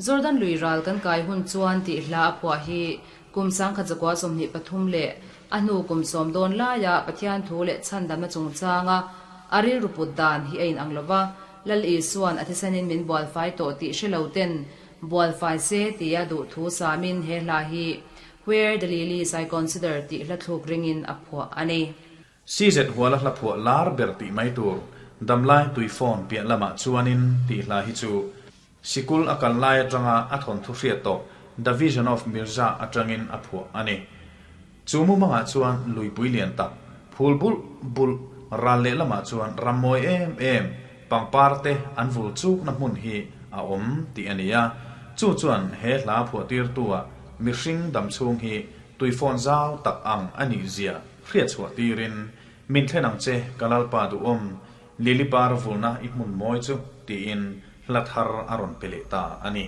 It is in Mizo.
Jordan lui ral kan kai hun chuan tih hla a phuah hi kum 1923 leh a hnu kum sawm dawn laia Pathian thu leh chhandamna chungchanga a rilru put dan hi a inang lo va, Lal Isua'n a thisenin min bualfai tawh tih hre lo ten bualfai se tia duh thu samin he hla hi Where the Lilies I Consider tih hla thluk ringin a phuah a ni. CZ Huala hla phuah lar ber tih mai tur, Damlai Tuifawn piah lamah chuanin tih hla hi chu Sikul a kal lai atanga a thawnthu hriat tawh The Vision of Mirza atangin a phuah a ni. Chu mumangah chuan luipui lian tak, phul bulh bulh, ral lehlamah chuan ram mawi em em, pangpar te an vul chukna hmun hi a awm tih a ni a. Chu chuan he hla phuahtirtua mihring damchhung hi tuifawn zau tak ang a nih zia hriat chhuah tirin, Min thlen ang che, ka Lalpa duhawm, Lili par vulna i hmun mawi chu, tiin hla thar a rawn pe leh ta a ni.